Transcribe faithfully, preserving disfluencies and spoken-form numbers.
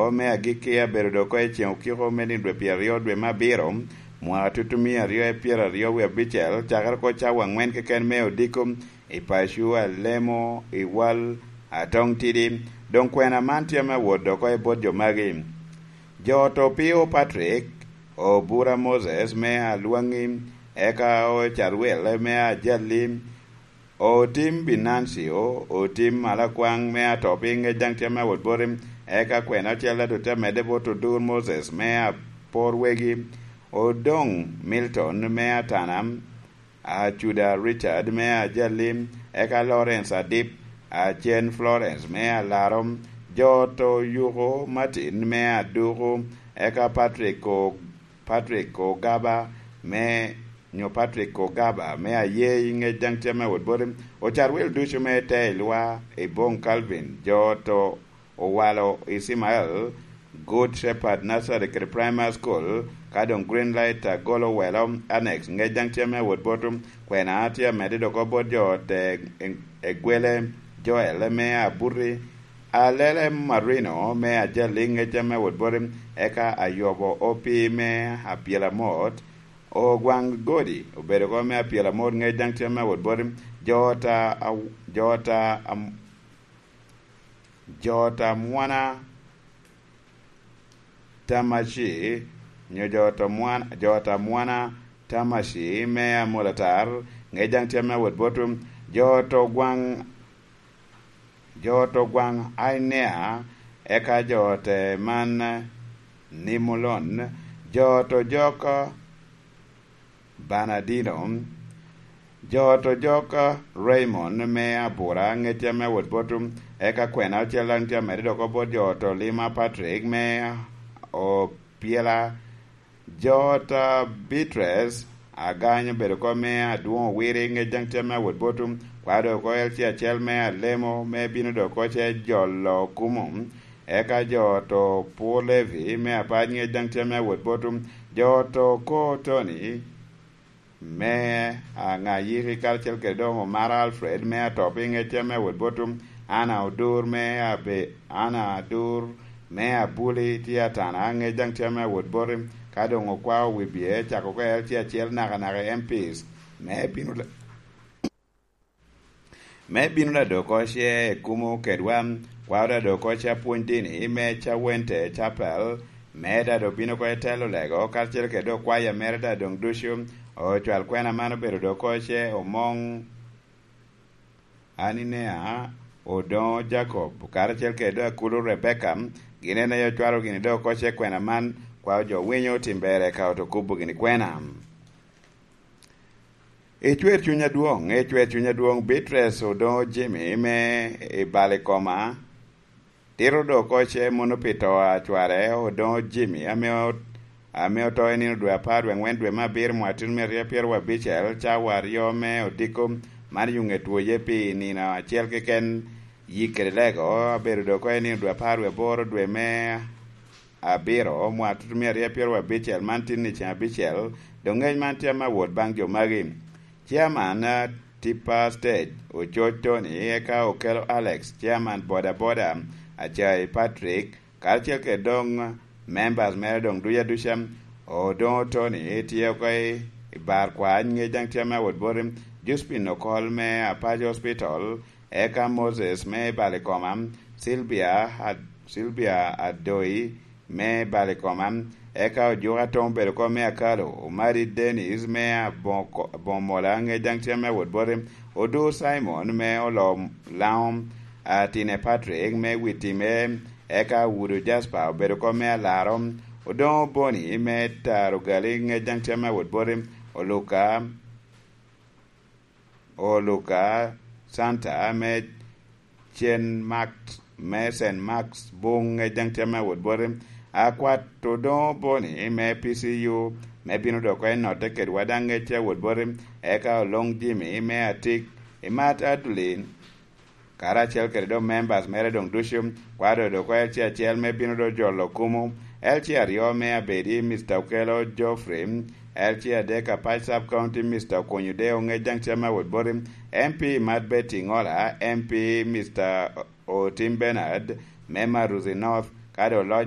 me agikki abedo dok oko i ceŋ okiko me nino dwe pyeraryo dwe me abiro, mwaka tutumia aryo i pyeraryo wie abicel, cakere oko cawa angwen keken me odiko i paco, alemo i wal, atoŋ tidi. Doŋ kwena man tye me wot dok oko i bot jo magi. Jo oto Pio Patrick, Obura Moses me Alwaŋi, eka Ocarwel me Ajali, Otim Binancio, Otim Alakwaŋ me Atopi, ŋec daŋ tye me wot boti, eka kwena ocel ado te medde bot Odur Moses me Apor Wegi, Odoŋ Milton me Atana, Acuda Richard me Ajali, eka Lawrence Adip, Acen Florence me Alaro, jo oto Yuko Martin me Aduku, eka Patrick O-, Patrick Ogaba me, nyo Patrick Ogaba me Ayei, ŋec daŋ tye me wot boti, Ocarwel ducu me Teilwa, Ibong Calvin, jo oto Owalo Ismael, Good Shepherd Nursery kede Primary School, ka doŋ Green Light Agolo Welo Annex, ŋec daŋ tye me wot boti, kwena tye amedde dok oko bot jo oto Egwele Joel me Abuti, Alele Marino me Ajali, ŋec daŋ me wot boti, eka Ayobo Opi me Apyelamot, Ogwaŋ Godi obedo oko me Apyelamot, ŋec daŋ tye me wot boti, jo oto, jo oto, jo oto Amwana Tamaci, nyo jo oto Mwan-, jo oto Amwana Tamaci me Amolatar, ŋec daŋ tye me wot boti, jo oto Gwaŋ, jo oto Gwaŋ Ainea, eka jo oto man Nimulon, jo oto Jok Banadino, jo oto Jok Raymond me Abura, ŋec tye me wot boti, eka kwena ocel daŋ tye amedde dok oko bot jo oto Lima Patrick me Opyela, jo oto Beatrice Agany obedo oko me Adwoŋ Owiri, ŋec daŋ tye me wot boti, kwena dok oko L C acel me Alemo me bino dok oko ce jolo kumo, eka jo oto Pur Levi me Apac, ŋec daŋ tye me wot boti, jo oto Ko Tony me Aŋayiki karacel kede doŋ Omara Alfred me Atopi, ŋec tye me wot boti, Ana Odur me Abe-, Ana Adur me Abuli tye Atana, ŋec daŋ tye me wot boti, ka doŋ okwao wibye cako oko L C acel nakanaka i M Ps me bino le-, me bino dok oko ce kumo kedwa, kwao dok oko ce apwony dini me Cawente Chapel, me dok obino oko i telo lego, karacel kede okwaya mere doŋ ducu, ocwal kwena man obedo dok oko ce Omoŋ Aninea, Odoŋo Jacob, karacel kede Akulu Rebecca, gin en aye ocwalo gini dok oko ce kwena man, kwao jo winyo tim ber eka oto kubo gini kwena. Icwer cuny adwoŋ, icwer cuny adwoŋ, Beatrice Odoŋo Jimmy me i Balikoma, tito dok oko ce mono pi to a cware Odoŋo Jimmy, ame o-, ame oto i nino dwe apar dwe aŋwen dwe me abiro mwaka tutumia aryo pyeraryo abicel, cawa aryo me odiko, man yuŋe twoye pi nino acel keken, yik kede lego, abedo dok oko i nino dwe apar dwe aboro dwe me abiro, mwaka tutumia aryo pyeraryo abicel, man tin i ceŋ abicel, doŋ ŋec man tye ame awot baŋ jo magi. Chairman, eh, Tipa Stage, Ococ Tony, eka Okelo Alex, Chairman Boda Boda, Acai Patrick, karacel kede doŋ members mere doŋ duc aduca, Odoŋo Tony, tye oko i, i bar kwac, ŋec daŋ tye ame awot boti, Josephine Okol me Apac Hospital, eka Moses me Balikoma, Sylvia Ad-, Sylvia Adoi me Balikoma, eka Ojuka Tom obedo oko me Akalo, Omari Dennis me Aboko-, Abomola, ŋec daŋ tye ame awot boti, Odur Simon me Olom Laŋo, Atine Patrick me Witime, eka Wudu Jasper obedo oko me Alaro, Odoŋo Boni me Taro Gali, ŋec daŋ tye ame awot boti, Oluka, Oluka Santa me Cen Max, me Saint Max Buŋ, ŋec daŋ tye ame awot boti, Akwat Odoŋo Boni me P C U, me bino dok oko i notte kedwa daŋ ŋec tye awot boti, eka Oloŋ Jimmy me Atik, Imat Adulin, karacel kede doŋ members mere doŋ ducu, kwado dok oko L C acel me bino doŋ jolo kumo, L C aryo me abedi, Mister Okelo Geoffrey, L C adek Apac Sub County, Mister Okonyo Deo, ŋec daŋ tye ame awot boti, M P Imat Betty Ŋola, M P Mister Otim Bernard, me Maruzi North, Ka doŋ oloc